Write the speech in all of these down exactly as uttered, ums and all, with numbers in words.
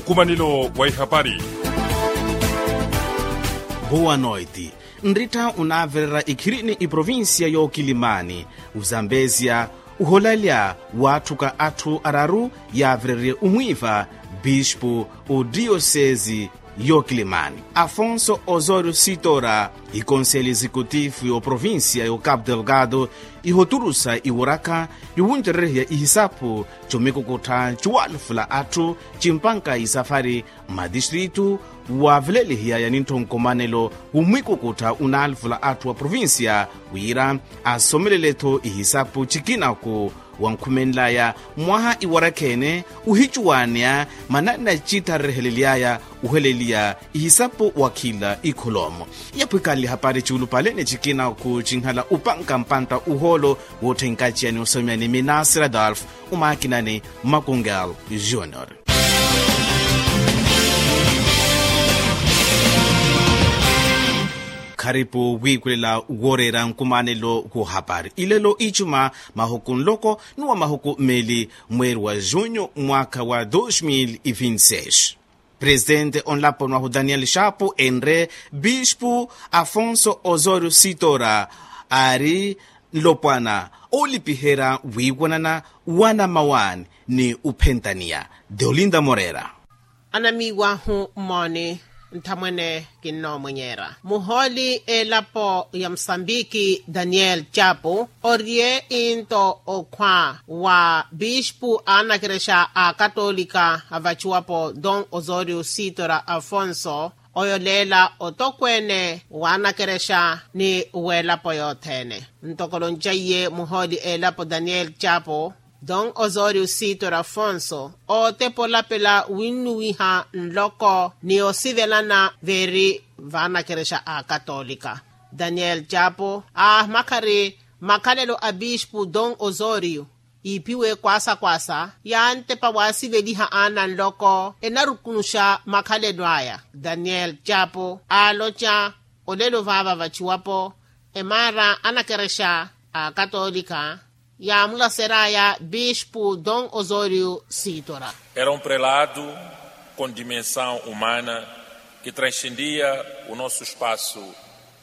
Nkumanelo wa ihapari. Boa noite. Nrittha onaavererya ikhirini iprovincia y'okilimani, ozambezia oholalya waatthuka atthu araru yaavererye omwiiva bispu odiyosesi y'okilimani afonso osorio sitora. Ikonseli exekutifu y'oprovincia y'ocapo delgado ihoturusa iwaraka yowuncererehiya ihisapu comikukuttha cowalufula atthu cimpanka isafari mmatistritu waavelelihiyaya nintho nkumanelo womwikukuttha onaalufula atthu wa provincia wira asomelele-tho ihisapu cikinaku wankhumenlaya mwaha iwarakha-ene ohicuwaneya mananna cittharerehelilyaya oheleliya ihisapu wakhila ikholomo. Yapwikanle hapari ciulupale ni cikinaku cinhala opanka mpantta ohoolo wootthenkaciyani osomyani minasira dolf omakinani makungel junior. Kharipu wiikulela wooreera nkumanelo woohapari ilelo icuma mahuku nloko ni wa mahuku mmeeli mweeri wa junyu mwaakha wa dos mil e vinte seis. Presitente onlaponi wahu daniel chapo enre bispu afonso osorio sitora aari nlopwana oolipiherya wiiwanana wanamawaani ni ophentaniya. Deolinda morera. Anamiiwahu mmooni nthamwene kinnoomwenyeera muhooli elapo ya musambiki daniel chapo oriye into okhwa wa bispu a anakerexa a akatolika avaciwapo don osorio sitora afonso oyoleela otokweene wa anakerexa ni w'elapo yothene. Ntoko loncaiye muhooli elapo daniel chapo don osorio sitora afonso ootepa olapela winnuwiha nloko ni osivelana veeri vaanakerexa a akatolika. Daniel chapo aahimakhari makhalelo a bispu don osorio iiphiwe kwaasa kwaasa yaantepa waasiveliha aana nloko enarukunuxa makhalelo aya. Daniel chapo aaloca olelo vaava vaciwapo emaara anakerexa a akatolika yaamulaseraya bispu don osorio sitora. Era um prelado com dimensão humana que transcendia o nosso espaço.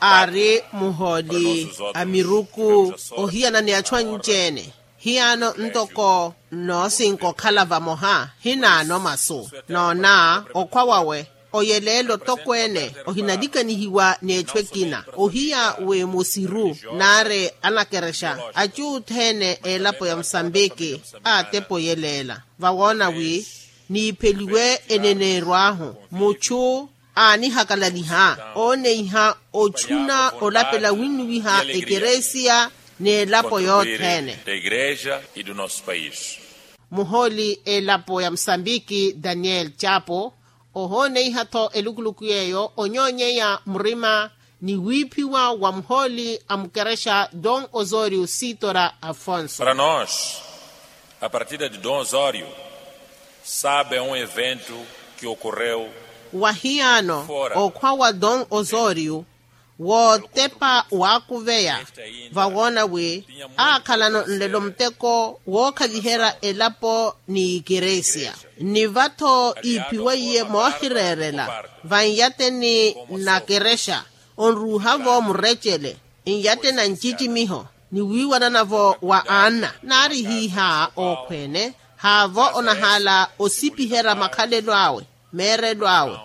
Aari muhooli a miruku ohiyana ni achu anci-ene hiyaano ntoko nnoosinka okhala vamoha hinaano masu noona okhwa wawe oyeleela otokweene ohinalikanihiwa n'echu ekina ohiya wi musiru naari anakerexa achu othene elapo ya musambiki aatepa oyeleela vawoona wi niipheliwe eneneeryo ahu muchu aanihakalaliha ooneiha ochuna olapela winnuwiha ekeresia n'elapo yothene. Muhooli elapo ya musambiki daniel chapo ohooneiha-tho elukuluku yeeyo onyoonyeya murima ni wiiphiwa wa muhooli a mukerexa don osorio sitora afonso. Para nos a partida de don osorio sabe a um evento que ocorreu. Wahiyaano okhwa wa don osorio wootepa waakuveya vawoona wi aakhalano nlelo muteko wookhaliherya elapo ni ikeresia ni va-tho iiphiweiye moohireerela van'yateni na kerexa onruuha-vo murecele n'yateni a ncicimiho ni wiiwanana-vo wa anna naari hiiha okhweene haavo onahaala osipiherya makhalelo awe meerelo awe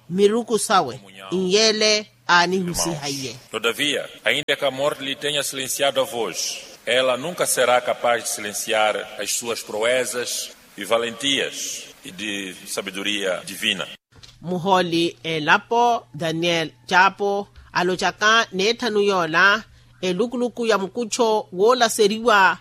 miruku sawe n'yele aanihusiha iye. Todavia ainda que a morte lhe tenha silenciado a voz ela nunca será capaz de silenciar as suas proezas e valentias e de sabedoria divina. Muhooli elapo daniel chapo alocaka n'etthanu yoola elukuluku ya mukuttho woolaseriwa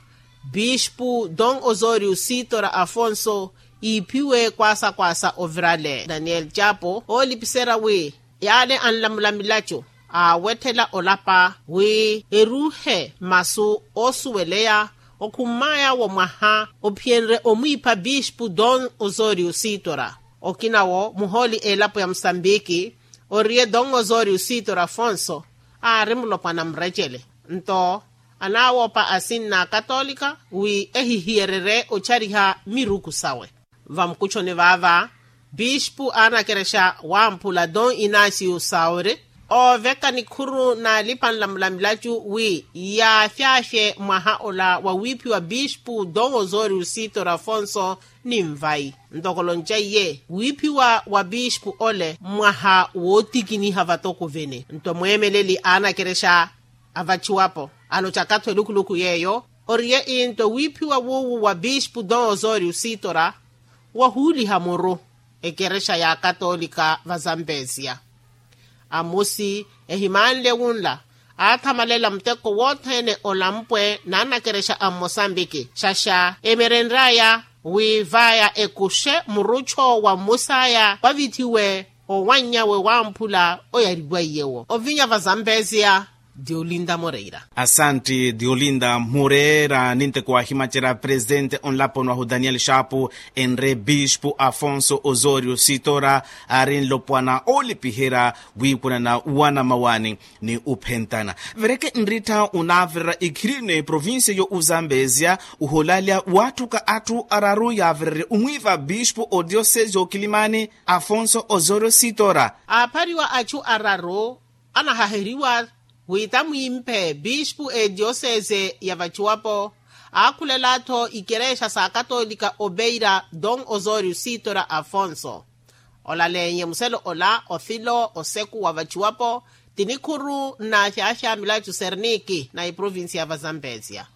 bispu don osorio sitora afonso iiphiwe kwaasa kwaasa ovirale daniel chapo oolipiserya wi yaale anlamula milaco aawetthela olapa wi eruuhe masu oosuweleya okhummaya wa mwaha ophiyenrye omwiipha bispu don osorio sitora. Okina wo muhooli elapo ya musambiki oriye don osorio sitora afonso aari mulopwana murecele nto anaawoopa asinna akatolika wi ehihiyererye ochariha miruku sawe. Vamukuchoni vaava Pispu anakerexa wamphula don inasio sauri, ooveka nikhuru n'alipa anlamula milacu wi yaafyaaxe mwaha ola wa wiiphiwa pispu don osoriu sitor afonso, ni nvai ntoko lonca iye wiiphiwa wa pispu ole mwaha wootikiniha vatoko vene nto mweemeleli aanakerexa avaciwapo, aloca katho elukuluku yeeyo oriye into wiiphiwa wuuwu wa pispu don osoriu sitor, wahuuliha muru ekerexa ya katolika va zampesiya. Amusi ehimanle wunla, aathamalela muteko wothene olampwe n'anakerexa a mmosambiki xaxa emerenry'aya wi v'aya ekuxe murucho wa mmus'aya wavithiwe owanny'awe wamphula oyariwaiye-wo ovinya va zampesiya. Diolinda moreira. Asanti diolinda moreira ninteko wahimacerya presidente onlaponi wahu daniel xapu, enre bispu afonso osorio sitora, aari nlopwana olipiherya wiikunana wanamawani ni uphentana. Vereke nrittha onaavirira ikhirine provincia yo uzambesia, uholalya watthuka atthu araru yaavirerye omwiiva bispu odiosesi yokilimani afonso osorio sitora. Aaphariwa atthu araru anahaheriwa wi tamwimphe bispu ediyosese ya vacuwapo, aakhulela-tho ikerexa sa katolika obeira don osorio sitora afonso. Olalenye muselo ola ofilo oseku wa vacuwapo, ti nikhuru nnaxaxa milacu serniki na iprovincia ya vazambesia.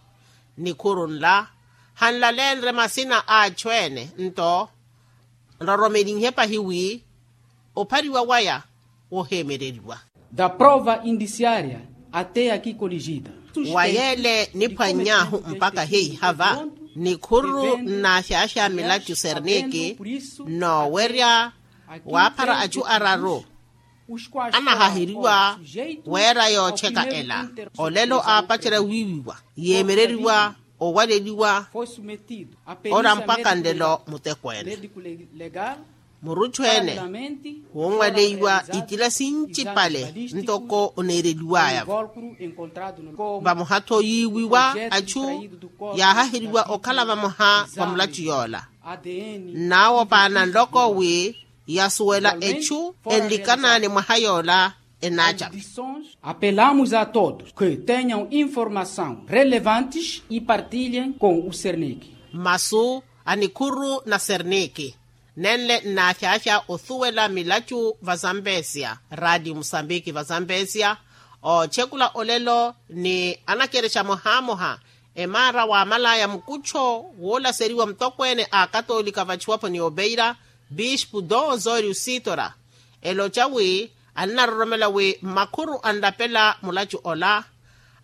Nikhuru nla hanlalenre masina a achu ene nto nroromelinhe pahi wi ophariwa waya woheemereriwa. Da prova indiciaria até aqui coligida. Wa yeele niphwanny'ahu mpakha heiha va nikhuru nnaxaxa milacu serniki, noowerya waaphara achu araru anahaheriwa weera yootcheka ela. Olelo aapacerya wiiwiwa yeemereriwa owaleliwa ora mpakha nlelo mutekweene. Murutthu ene wunwaleiwa itila sincipale ntoko oneereliwaya-vo. Vamoha-tho yiiwiwa achu yaahaheriwa okhala vamoha va mulacu yoola. Nnaawopaana nloko wi yasuwela echu enlikana ni mwaha yoola. Enaacapa. Apelamos a todos que tenham informação relevantes e partilhem com o sernik. Masu a nikhuru na sernik nenle nnaaxaaxa osuwela milacu va zambesia radio musambiki va zambesia. Oocekula olelo ni anakerexa mohamoha emaara waamalaya mukuttho woolaseriwa mutokweene a akatolika vachuwapo ni obeira bispu don osoriu sitora eloca wi annaroromela wi mmakhuru anlapela mulacu ola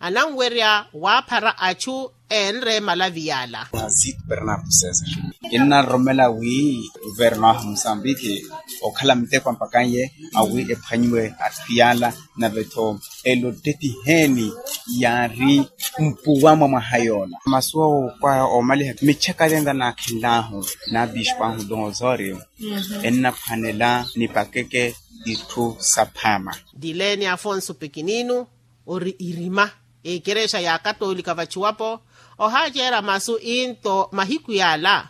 ananwerya waaphara achu eenre malavi yaala. Zito bernardo cesar kinnaroromela wi guverno ahu musambiki okhala muteko ampakan'ye awi ephwanyiwe atthu yaala. Nave-tho elo ttetiheni yaari mpuwa mwa mwaha yoola masu awo kwa oomaliha mitchaka tenta naakhenl'ahu na bispu ahu don osorio ennaphwanela nipakeke itthu saphaama. Dileeni afonso pikininu ori irima ekerexa ya akatolika vachuwapo ohaaceera masu into mahiku yaala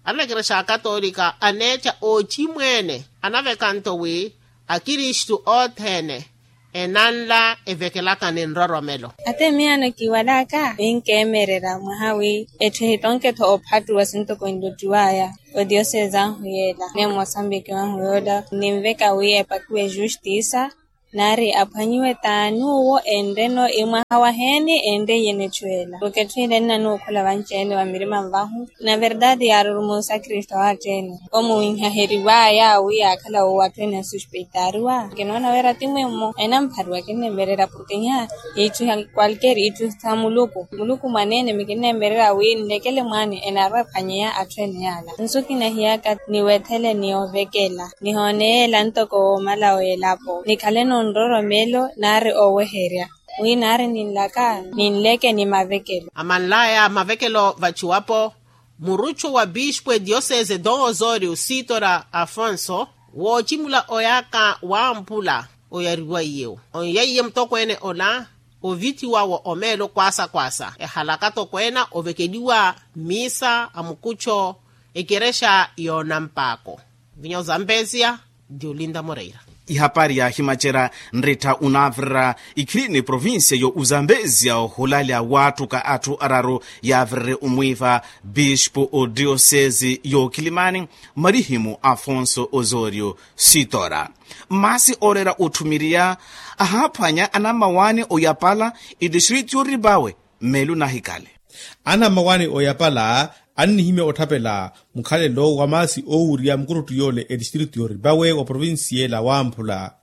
anakerexa akatolika aneettha oocimweene anaveka nto wi akristu othene enanla evekelaka ni nroromelo. Ate miyaano kiwalaka wi nkeemerera mwaha wi etthu ehitonke-tho ophattuwa sintoko enlottiwaya odiosese ahu yeela ne mosambiki wahu yoola ninveka wi epakiwe justiisa nari aphwanyiwe t'ani uwo enreno emwaha waheeni enreiye netthu ela. Oketthu ela ennanuwa okhola vanci-ene va mirima nvahu na verdade yaaruruma osakrista wa atthu ene omuwinhaheriwaya wi yaakhala wo atthu ene ansuspeitaariwa. Kinoona wira ti mwimmo enamphariwa kinnemberera porke iha itthu ya kwalker itthu sa muluku muluku mwaneene mikinnemberera wi nlekele mwaani enaaru aphwanyeya atthu ene yaala nsu kinahiyaka niwethele ni ovekela nihooneyeela ntoko woomala w'elapo nikhaleno nroromelo nari oweherya wi nari ninlaka ninleke ni mavekelo. Amanlaya mavekelo vachuwapo muruchu wa bispu ediyosese don osorio sitora afonso woocimula oyaka wampula oyariwaiye-wo onyaiye mutokweene ola ovithiwa wo omeelo kwaasa kwaasa ehalaka tokweena ovekeliwa mmiisa a mukuttho ekerexa yoonampaako. Vinya ozambesia. Ndi olinda moreira. Ihapari yaahimacerya nrittha onaavirira ikhilini provincia yo ozambesia ohulalya waattuka atthu araru yaavirire omwiiva bispo o diosesi y'okilimani, marihimu afonso osorio sitora. Maasi ooreera otthumiriya ahaaphwanya anammawaani oyapala etistritu y'oripawe. Mmeelo nahikhale. Anammawaani oyapala annihimya otthapela mukhalelo wa maasi oowurya mukuruttu yoole etistritu y'oripawe wa provincia ela wamphula.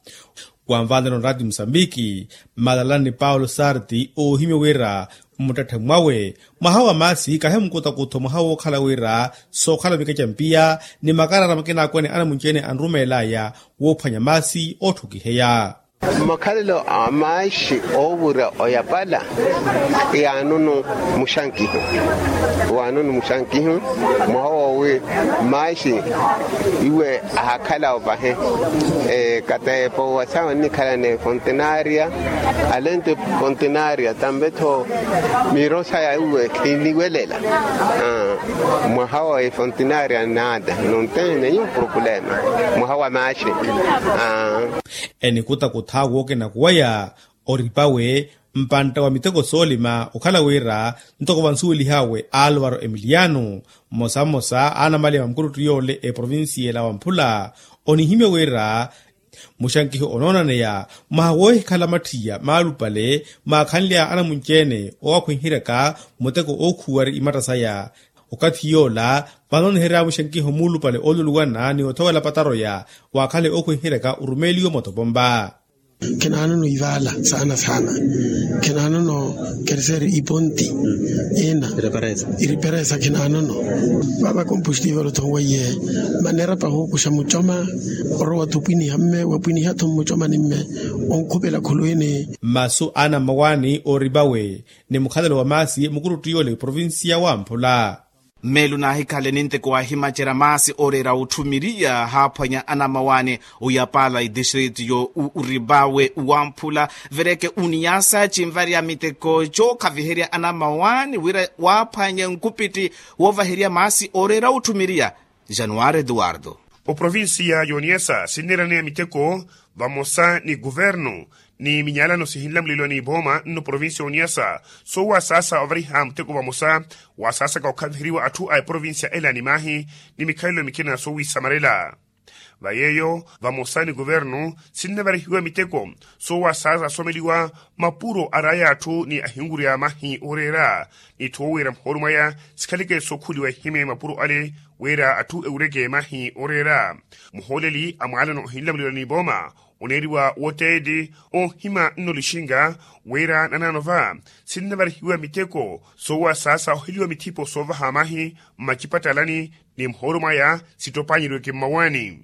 Wanvaanela onraati musambiki mmalalani paulo sarti oohimya wira mmuttetthe mwawe mwaha wa maasi kahi mukutakutho mwaha wookhala wira sookhala mikeca mpiya ni makarara makina akwene anamunci-ene anrumeelaya woophwanya maasi ootthukiheya. Makhalelo a maaxi oowurya oyapala yaanono muxankihu. Waanono muxankihu mwaha woowi maaxi iwe ahakhala opahe. Kateepo wasawa nnikhalana efontenaria alento efontenaria tampe-tho miiro saya iwe khiniwelela. Mwaha wa efontenaria nada nontene nenyu problema mwaha wa maaxi. Enikutakutha wookenakuwaya oripawe mpantta wa miteko soolima okhala wira ntoko vansuwelih'awe alvaro emiliano mmosa mmosa a anamaliya va mukuruttu yoole eprovincia ela wamphula onihimya wira muxankiho onoonaneya mwaha woohikhala matthiya maalupale maakhanly'aya anamunci-ene oowakhwenheryaka muteko ookhuwari imatta saya. Okathi yoola vanoonihery'aya muxankiho muulupale ooluluwana ni othowela pataroya waakhale ookhwenheryaka orumeeliwe motopompa. Khinaanono ivaala saana saana. Khinaanono kerseeri iponti ina iriperesa khinaanono. Vava kompustivel othonweiye maneera pahookuxa mucoma orowa-tho opwiniha mme wapwiniha-tho mmucomani mme onkhupela khulwini. Masu a anammawaani ooripawe ni mukhalelo wa maasi mukuruttu yoole provincia wamphula. Mmeelo naahikhale ninteko waahimacerya maasi ooreera otthumiriya haaphwanya anammawaani oyapala etistritu yo uripawe wamphula. Vereke oniyasa cinvarya miteko cookhaviherya anammawaani wira waaphwanye nkupitti woovaherya maasi ooreera otthumiriya. Januwari eduwardo. Oprovincia y'oniyasa sinneeraneya miteko vamosa ni kuvernu ni minyalano sihinlamuleliwa n'ipooma nno provincia y'oniyasa soowasaasa ovariha muteko vamosa wasaasaka okhaviheriwa atthu a eprovincia ela ni maahi ni mikhalelo mikina soowisamarela. Va yeeyo vamosa ni kuvernu sinnavarihiwa miteko soowasaasa asomeliwa mapuro araya atthu ni ahinwurya mahi ooreera ni tho wira muhoolu mwaya sikhaleke sookhuliwa ehime mapuro ale wira atthu ewureke mahi ooreera. Muhooleli a mwaalano ohinlamuleliwa n'ipooma oneeriwa woteedi oohima nno lixinga wira nanaano va sinnavarihiwa miteko soowasaasa oheliwa mithipo soovaha mahi mmacipattalani ni muhoolo mwaya sittopanyiryeke mmawaani.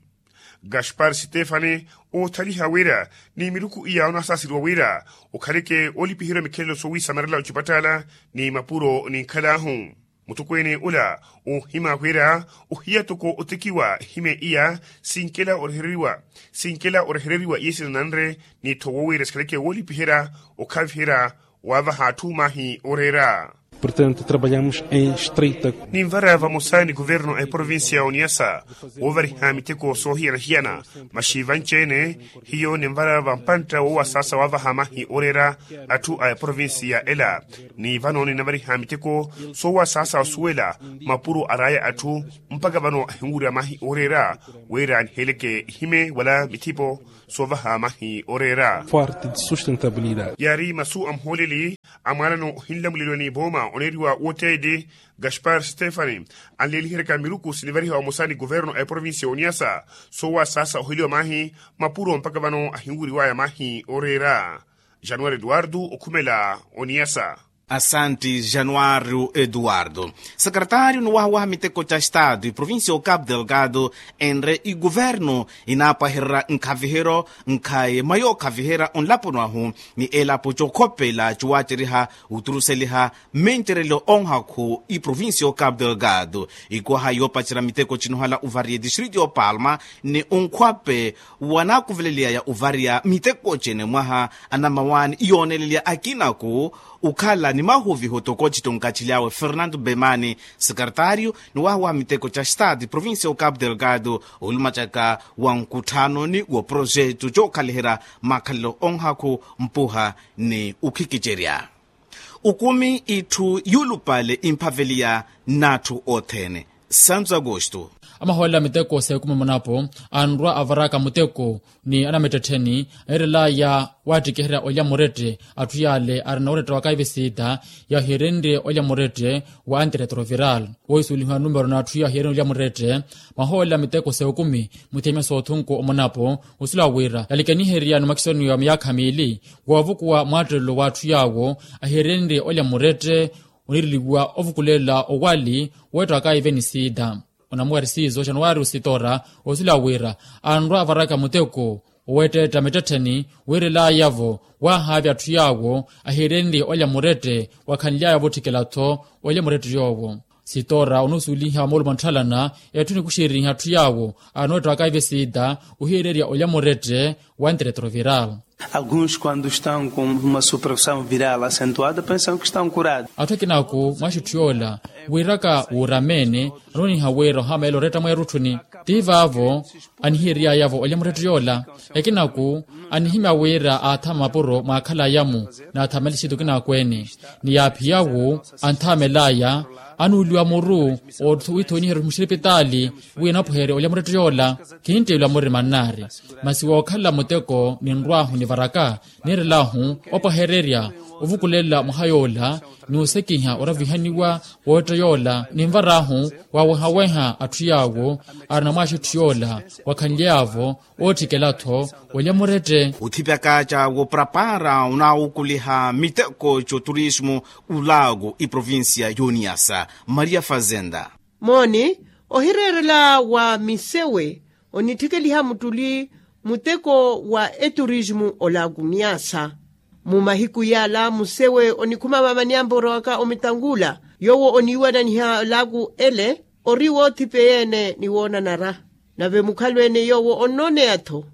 Gaspar stefani oothaliha wira ni miruku iya onaasaaseriwa wira okhaleke woolipiherya mikhelelo soowisamarela ocipattala ni mapuro ninkhal'ahu. Mutukweene ula oohima wira ohiya toko otekiwa ehime iya sinkela orehereriwa sinkela orehereriwa iye sinananre ni tho woowira sikhaleke woolipiherya okhaviherya waavaha atthu mahi ooreera. Portanto trabalhamos em estreita. Ninvara vamosa ni kuvernu a eprovincia ya oniasa woovariha miteko soohiyana-hiyana. Maxi vanci-ene hiyo ninvara vampantta woowasaasa waavaha mahi ooreera atthu a eprovincia ela. Ni vano ninavariha miteko soowasaasa osuwela mapuro araya atthu mpakha vano ahinwurya mahi ooreera wira niheleke ihime wala mithipo soovaha mahi ooreera. Forte de sustentabilidade. Yaari masu a muhooleli a mwaalano ohinlamuleliwa n'ipooma oneeriwa woteedi gaspar stefani anleeliheryaka miruku sinivariha vamosa ni kuvernu a eprovincia ya oniasa soowasaasa oheliwa mahi mapuro mpakha vano ahinwuriwaya mahi ooreera. Januwari eduwardo okhumela oniasa. Asanti januwari eduwardo. Sekretaariyo ni wahawaha miteko ca estado eprovincia ya ocapu delgado enre ikuvernu inaapwahererya nkhaviheryo nkhaye mwa yookhaviherya onlaponi wahu ni elapo cookhopela cowaaceriha oturuseliha mmincerelyo onhakhu eprovincia ya ocapu delgado. Ikuwaha yoopacerya miteko cinohala ovariya etistritu ya opalma ni onkhwape wanaakuveleliyaya ovariya miteko cene mwaha anamawaani yoonelelya akinaku Okhala ni mahuviho toko citto nkacili awe fernando bemani, sekretario ni waha wa miteko ca stade provincia o capo delgado, olumacaka wa nkutthanoni wa projeto cookhalihira makhalelo onhakhu mpuha ni ukhikicerya. Okumi itthu yuulupale imphaveliya n'atthu othene. Santo agosto. Amahoolela miteko s'ekumi munapo anrwa avaraka muteko ni anamittettheni, ahiirelaya waattikiherya olya murette. Atthu yaale arina oretta wa kaive siita yahiirenrye olya murette wa antiretroviral. Wohisuwelihiwa numero n'atthu yahiirenrye olya murette. Mahoolela miteko s'ekumi muthemya s'othunku omunapo osula wira yalikeniherya ni makisoni wa miyaakha miili woovukuwa mwaattelelo w'atthu yaawo ahiirenrye olya murette. Oniireliwa ovukulela owali weettaka iveni siita. Onamuwari siizo xanuwari ositora osula wira anrwa avaraka muteko oweetteetta mittettheni wiirelaya-vo waahaavya atthu yaawo ahiirenrye olya murette wakhanlyaya vootthikela-tho olya murette yoowo. Sitora onusuweliha moolumo ntthalana etthu nikuxereriha atthu yaawo anoottaka iveni siita ohiirerya olya murette wa antiretroviral. Alguns quando estão com uma supressão viral acentuada pensam que estão curados. Atthu akinaku mwaxi etthu yoola wiiraka wuuramene anooniha wira ohameela oretta mweerutthuni. Ti vaavo anihiiryaya-vo olya murette yoola. Ekinaku anihimya wira aathama mapuro mwaakhalaya-mu naathamale siita okinaku ene. Ni yaaphiya-wu anthamelaya anuuliwa muru withooniherya muxiripitaali wi anapweherye olya murette yoola. Kinttiilwa murima nnaari masi wookhala muteko ninrw'ahu nivaraka niirel'ahu opwehererya ovukulela mwaha yoola ni osekiha oravihaniwa wootta yoola ninvar'ahu waawehaweha atthu yaawo arina mwaxi etthu yoola wakhanly'aya-vo ootthikela-tho olya murette. Othipyaka ca woparapara onaawukuliha miteko c'oturismo olaaku iprovincia y'oniyasa maria fazenda. Mooni ohireerela wa misewe onitthikeliha muttuli muteko wa eturismu olaaku niyasa. Mu mahiku yaala musewe onikhuma vaamani amporowaka omitangula yoowo oniiwananiha olaaku ele ori woothipeya-ene ni woonanara. Nave mukhalo-ene yoowo onnooneya-tho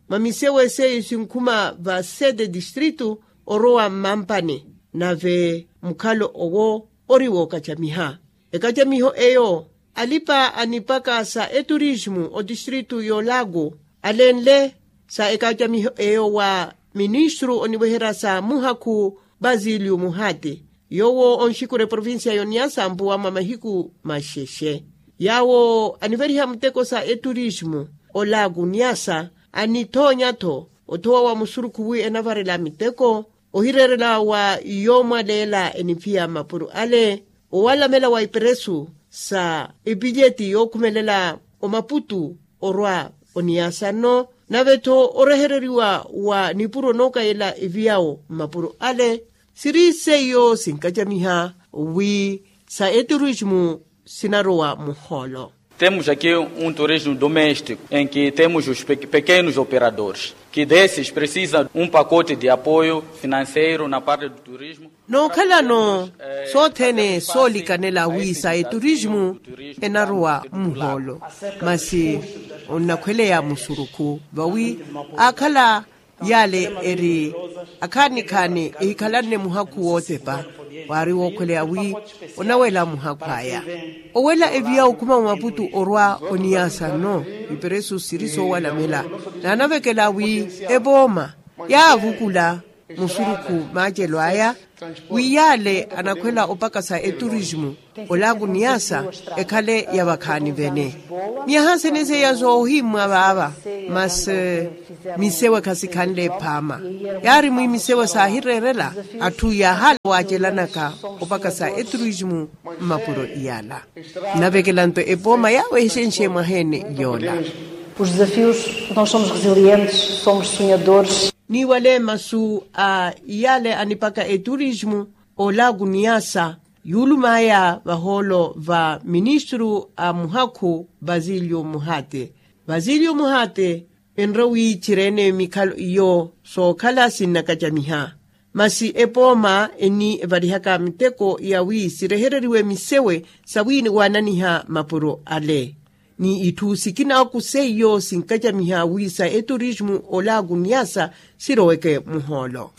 mwa misewe seiyo sinkhuma va sete distritu orowa mmampani. Nave mukhalo owo ori wookacamiha ekacamiho eyo alipa anipaka sa eturismu otistritu y'olaaku alenle sa ekacamiho eyo wa ministru oniweherya sa muhakhu basiliu muhati yoowo onxikura eprovincia y'oniyasa mpuwa mwa mahiku maxexe. Yaawo aniveriha muteko sa eturismu olaaku niyasa anithoonya-tho othowa wa musurukhu wi enavarela miteko ohireerela wa yoomwaleela eniphiya mapuro ale owalamela wa iperesu sa epilyeti yookhumelela omaputu orwa oniyasa nno. Nave-tho orehereriwa wa nipuro nookayela eviyawo mmapuro ale siri seiyo sinkacamiha wi sa eturismu sinarowa muhoolo. Temos aqui um turismo doméstico em que temos os pequenos operadores que desses precisam um pacote de apoio financeiro na parte do turismo. Nookhalano sothene soolikanela wi sa eturismu enarowa muhoolo masi onnakhweleya musurukhu vawi aakhala yaale eri akhaani-khaani ehikhalanne muhakhu wootepa waari wookhweleya wi onawela muhakhu aya owela eviya okhuma wa maputu orwa oniyasa nno. Iperesu siri soowalamela naanavekela wi epooma yaavukula musurukhu maacelo aya wi yaale anakhwela opakasa eturismu olaaku niyasa ekhale ya vakhaani vene. Miyaha sene seiya soohimmwa vaava masi misewe khasikhanle ephaama yaari mwi misewe saahireerela atthu yaahala waacelanaka opakasa eturismu mmapuro iyala. Navekela nto epooma yaawehexenxe mwaha-ene yoola. Os desafios nós somos resilientes, somos sonhadores. Niiwale masu a iyale anipaka eturismu olaaku niyasa yuulumaya vahoolo va ministru a muhakhu basiliu muhate. Basiliu muhate enre wi ciri-ene mikhalo iyo sookhala sinnakacamiha masi epooma eni evarihaka miteko ya wi sirehereriwe misewe sa wi waananiha mapuro ale. ni itthu sikina oku seiyo sinkacamiha wi sa eturismu olaaku niyasa siroweke muhoolo.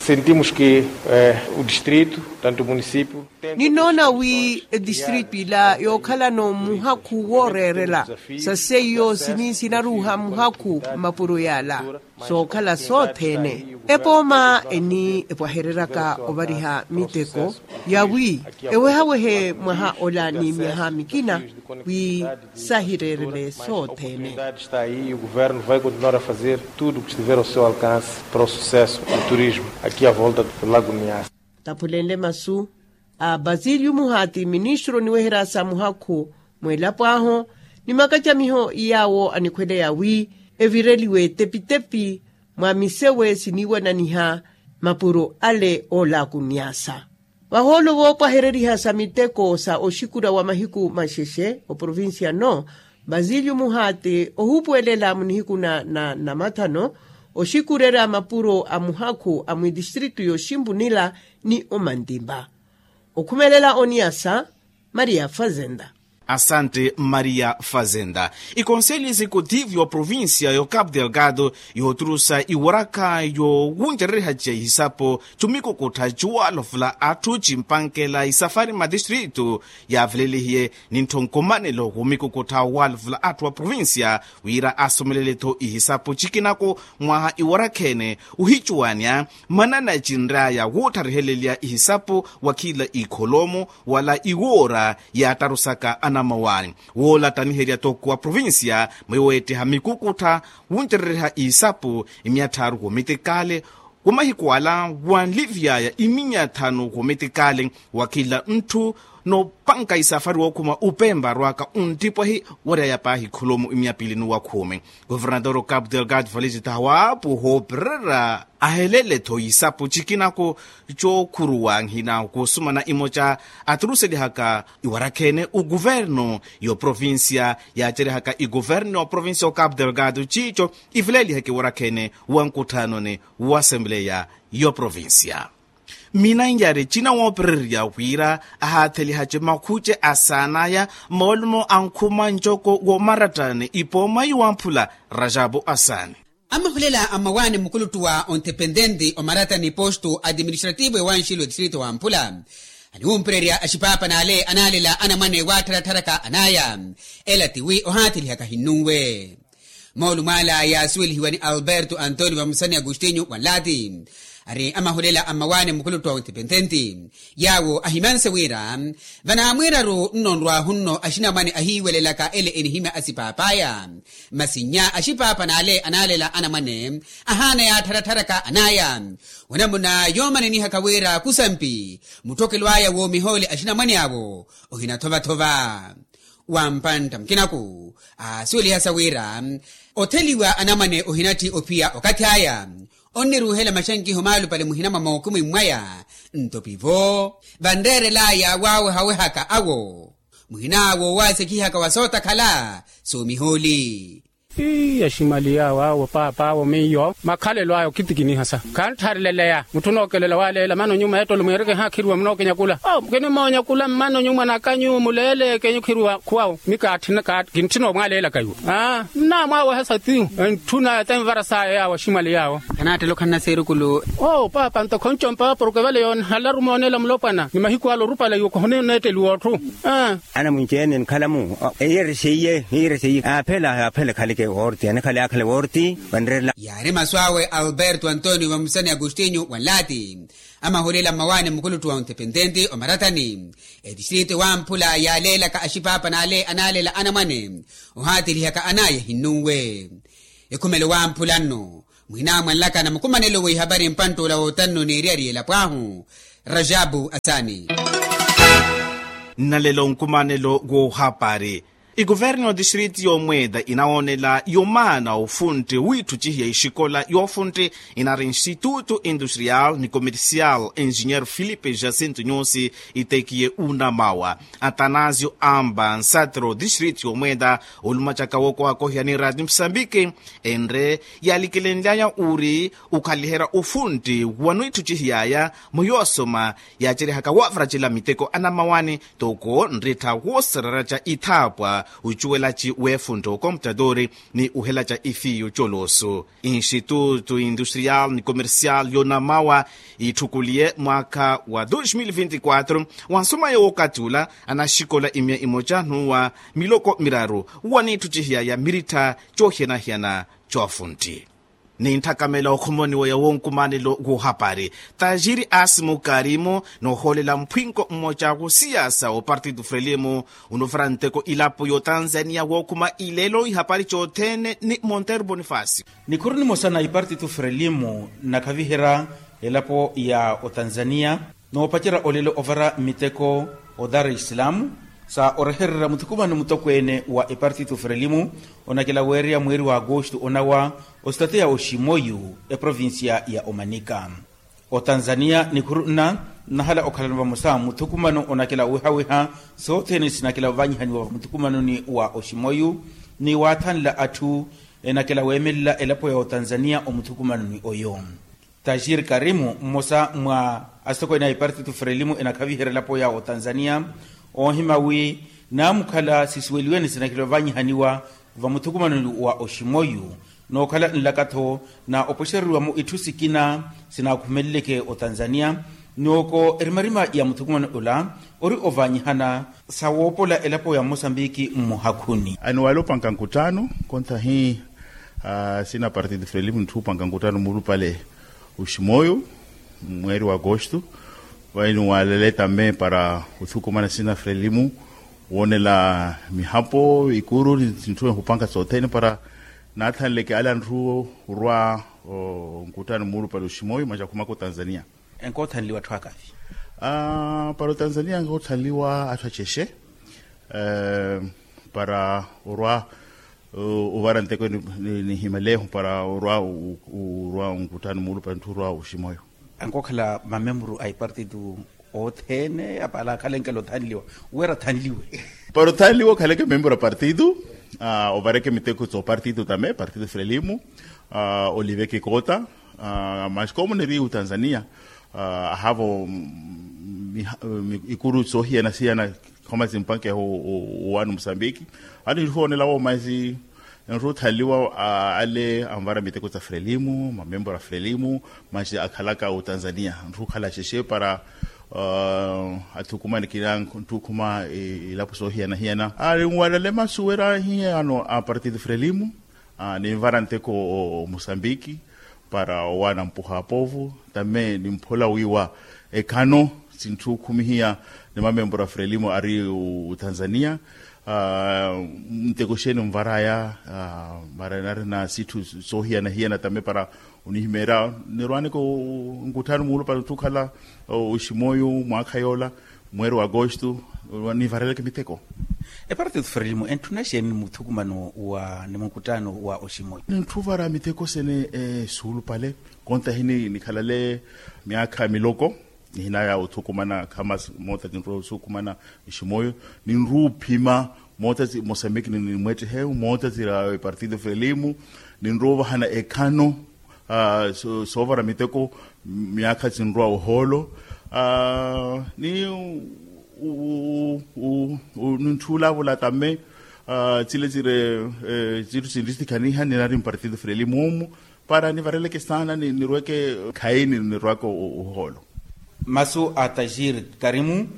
Ninnoona wi etistritu ila yookhalano muhakhu wooreerela sa seiyo sini sinaruuha muhakhu mmapuro yala sookhala sothene. Epooma eni epwahereryaka ovariha miteko yawi ewehawehe mwaha ola ni myaha mikina wi sahireerele sothene. Esta ahi e o governo vai continuar a fazer tudo o que estiver ao seu alcance para o sucesso do turismo aqui à volta do lago niasa. Taphulenle masu a basilio muhati ministro oniweherya sa muhakhu mwelapo ahu ni makacamiho iyaawo anikhweleya wi evireliwe etepitepi mwa misewe siniiwananiha mapuro ale oolaaku niyasa. Vahoolo voopwahereriha sa miteko sa oxikura wa mahiku maxexe oprovincia no basilio muhati ohuupuwelela munihiku na namathano oxikurerya mapuro a muhakhu a mwitistritu yoximpunila ni omantimpa. Okhumelela oniyasa maria fazenda. Asante maria fazenda. Ikonseli exekutive y'oprovincia y'ocapu delgado yooturusa iwarakha yowuncereriha ca ihisapo cumikukuttha cuwalovula atthu cimpankela isafari matistritu yaavelelihiye ninttho nkumanelo womikukuttha walovula atthu wa provincia wira asomelele-tho ihisapo cikinako mwaha iwarakha ene ohicuwanya manana cinry'aya woottharihelelia ihisapo wa khila ikholomo wala iwoora yaattarusaka anamawani woolattaniherya toko wa provincia mweyo weettiha mikukuttha wuncereriha ihisapo imyatthaaru womitikale wa mahiku ala wanlivy'aya iminya thanu womitikale wa khila ntthu noopanka isafari wookhuma upempa arwaka onttipwehi wary'aya paahi kholomo imyapili nuwa khume. Governador okapu delgado valicitaha waapuha oopererya ahelele-tho isapu cikinako cookhuruwa nhina kuusumana imoca aturuselihaka iwarakha ene okuverno y'oprovincia yaaceryahaka ikuverno y'oprovincia okapu delgado ciico ivelelihaka iwarakha ene wa nkutthanoni wa asempleya y'oprovincia. Minanyari cina woopererya wira ahaathelihacwe makhuce asaanaya moolumo a nkhuma ncoko womarattani ipooma iwamphula rajabu asaani. Amahulela a mmawaani mukuluttu wa ontepententi omarattani postu administrativo ewanxilu etistrito wamphula aniwumpererya axipaapan'ale anaalela anamwane waattharatharaka anaya ela tiwi ohaathelihaka hinnunwe. Moolumo ala yaasuwelihiwa ni alberto antonio vamusani agostinho wanlaati ari amahulela a mmawaani mukuluttu wa ontepententi yaawo ahimanse wira vanaamwiiraru nno nrwaahu nno axinamwane ahiiwelelaka ele enihimya asipaap'aya masi nnya axipaapan'ale anaalela anamwane ahaana yaattharatharaka an'aya wanamuna yoomanenihaka wira kusampi mutthokelo aya woomihoole axinamwane awo ohinathovathova. Wampantta mukinaku aasuwelihasa wira otheliwa anamwane ohinatthi ophiya okathi aya onniruuhela maxankiho maalupale muhina mwa mookhumi mwaya nto pivo vanreerel'aya waawehawehaka awo muhina woowasekihaka wa sootakhala soomihooli. Ii aximali yaawo awo paapa awo miyo makhalelo aya okhitikiniha sa khanttharileleya mutthu onookelela waaleela mana onyuma ettolo mweereke haakhiriwa munookenyakula awo mukinimoonyakula mmana onyuma nakanyu muleele kenyu khiriwa khuwawo mi kaatthina kaat kintthina omwaaleelaka iwo aa nnaamwaawehasa ti entthuna ete nvara saya yaawo aximali yaawo. Khanaattela okhanna seerukulu. Oo paapa nto khonco mpaaporo kevale yoonhalaru mooneela mulopwana ni mahiku ala orupala iwo khohoneetteliwa otthu. Aa anamunci ene enkhala-mu eyerexeiye eyerexeiye aaphela aaphela ekhaleke woorti anikhale aakhale woorti vanreerela. Yaari masu awe alberto antonio vamusani agostinho wanlaati amahulela mmawaani mukuluttu wa ontepententi omarattani etistrito wamphula yaaleelaka axipaapan'ale anaalela anamwane ohaathelihaka an'aya hinnunwe. Ekhumelo wamphula nno mwinamwanlaka na mukumanelo w'ihapari mpantt'ula wootanno n'eriyari y'elapo ahu rajabu asaani. Nnalelo nkumanelo w'ohapari ikuverno distrito y'omweeda inawoonela yomaana ofuntte wiitthucihiya exikola y'ofuntte inari instituto industrial ni comercial engineer filipe jacinto nyusi itekiye unamawa atanasio amba nsatro distrito y'omweeda olumacaka wookohakohiya ni radio musambiki enre yalikelenly'aya uri ukhaliherya ofuntti wanwiitthucihiy'aya mwa yoosoma yaaceryahaka waavaracela miteko anamawani toko nrittha woosererya ca ithaapwa Ucuwelaci w'efuntta okomputadori ni uhelaca ifiyu coloosu. Institutu industrial ni komersial y'onamawa itthukuliye mwaakha wa dos mil vinti quatro. Wansomaya w'okathi ula anaxikola imiya imoca n'uwa miloko miraru waniitthucihiyaya mirittha coohiyana-hiyana coofuntti. Ni ntthakamela okhomoniwa ya wonkumanelo w'ohapari, tajiri asimu karimu noohoolela mphwinko mmoca w'osiyasa w'opartitu frelimu, onovara nteko elapo y'otanzania wookhuma ileelo ihapari cothene ni monteiro bonifasio. Nikhuru nimosa na ipartitu frelimu nnakhaviherya elapo ya otanzania noopacerya olelo ovara miteko o dar es salaam, sa orehererya muthukumano mutokweene wa epartitu frelimu onakela weereya mweeri wa agosto onawa ositateya oximoyu eprovincia ya omanika. Otanzania nikhuru nna nnahala okhalano vamosa muthukumano onakela owihawiha sothene sinakela ovanyihaniwa muthukumanoni wa oximoyu ni waathanla atthu enakela weemelela elapo ya otanzania omuthukumanoni oyo. Tajiri karimu mmosa mwa asitokweene a ipartitu frelimu enakhaviherya elapo ya otanzania oohima wi naamukhala sisuweliwe ni sinakela ovanyihaniwa vamuthukumanoni wa oximoyu nookhala nlaka-tho na opwexereriwa-mo itthu sikina sinaakhumeleleke otanzania. Nooko erimarima ya muthukumano ola ori ovanyihana sa woopola elapo ya mmosambiki mmuhakhuni. Aniwale opanka nkuttano kontahi sina partido frelimu ntthu opanka nkuttano muulupale oximoyo mweeri wa agosto. Vayi niwalele tame para othukumana sina frelimu woonela mihapo ikuru ni ntthu ehupanka sothene para naathanleke ale antthu orwa nkuttano muulupale oximoyo masi akhumaka otanzania. Enkoothanliwa atthu akavi para otanzania enkoothanliwa atthu acexe para orwa ovara nteko nihimeleho para orwa nkuttano muulupale ntthu orwa oximoyo. Ankookhala mamemburu a ipartitu othene apala akhala enkela othanliwa wira athanliwe para othanliwe okhaleke memburu a partitu ovareke miteko tsopartitu tame partitu frelimu oliveke kota. Masi komuneri otanzania ahavo ikuru sohiyana siyana khoma simpankeha owaani omusambiki. Ani ntthu oonelawo masi ntthu othanliwa ale anvara miteko tsa frelimu mamemburu a frelimu masi akhalaka otanzania ntthu okhala xexe para athukumane kina ntthu okhuma ilapo soohiyana-hiyana ari nwalale masu wira hiyano a partido frelimu ninvara nteko omusambiki para owaana mpuha apovu tame nimphola wiiwa ekhano sintthu okhumihiya ni mamemburu a frelimu ari otanzania nteko xeeni onvaraya mara narina sitthu soohiyana-hiyana tame para onihimeerya nirwaaneke nkuttano muulupale ntthu okhala oximoyo mwaakha yoola mweeri wa agosto nivareleke miteko. Epartitu frelimu entthuna xeeni muthukumano wa ni munkuttano wa oximoyo ntthu ovara miteko sene suulupale kontahi nikhalale myaakha miloko nihinaya othukumana khamas moota tinrwa othukumana oximoyo ninrwa ophima moota tsi mosambiki nimwettehe moota tsira epartitu frelimu ninrwa ovahana ekhano soovara miteko myaakha tsinrwa ohoolo ni nintthula avula tame tsile tsire tsithu sinrisikhaniha ninari mpartitu frelimu omu para nivareleke saana nirweke khayi nirwaka ohoolo. Masu a tajiri karimu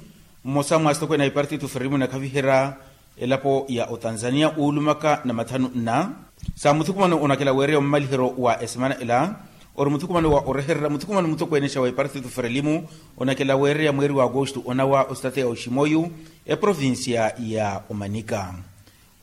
mmosa mwa asitokweene a ipartitu frelimu enakhaviherya elapo ya otanzania uulumaka na mathanu nna sa muthukumano onakela weereya omumaliheryo wa esemana ela ori muthukumano wa orehererya muthukumano mutokweenexa wa ipartitu frelimu onakela weereya mweeri wa agosto onawa ositateya oximoyu eprovincia ya omanika.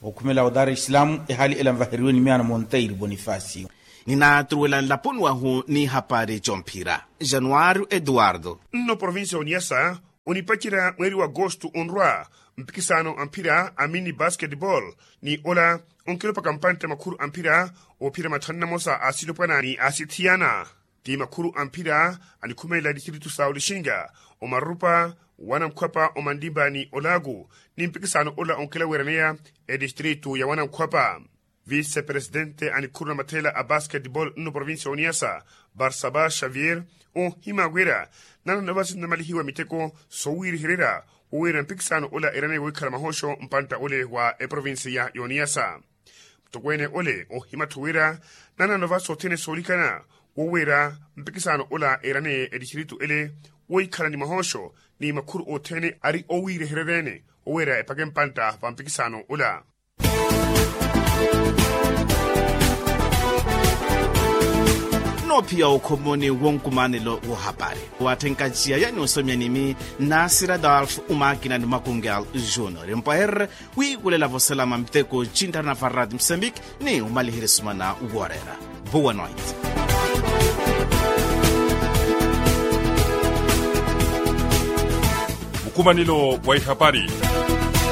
Okhumela o dar es salaam ehaali ela nvaheriwe ni miyaano monteiro bonifacio. Ninaaturuwela nlaponi wahu n'ihapari comphira januario eduardo. Nno provincia oniasa onipacerya mweeri wa agosto onrwa mpikisano a mphira a mini basketball ni ola onkilopaka mpantte makhuru a mphira oophira mathanu namosa a silopwana ni a sithiyana ti makhuru a mphira anikhumelela distritu sa olixinga omarupa wanankhwapa omanlimba ni olaku ni mpikisano ola onkelaweeraneya edistritu ya wanankhwapa. Vise presidente a nikhuru na matheela a basketball nno provincia oniasa barsaba xavier ohima wira nano navasi nnamalihiwa miteko sowiirihererya Wowira mpikisano ola eraneye wohikhala mahosho mpantta ole wa eprovinsiya y'oniyasa. Mutokweene ole ohimattho wira nanano va sothene soolikana wowira mpikisano ola eraneye etistritu ele wohikhala ni mahosho ni makhuru othene ari owiirehereryeene wowira epake mpantta va mpikisano ola. Noophiya okhomoni wonkumanelo wohapari watthenkaxiyaya ni osomya nimi nasira dalf umaakina ni makungel junior mpwehererye wiikulela voselama miteko cinttharana va rati msambiki ni omaliherya esumana wooreera. Boa noite. Mukhumanelo wa ihapari.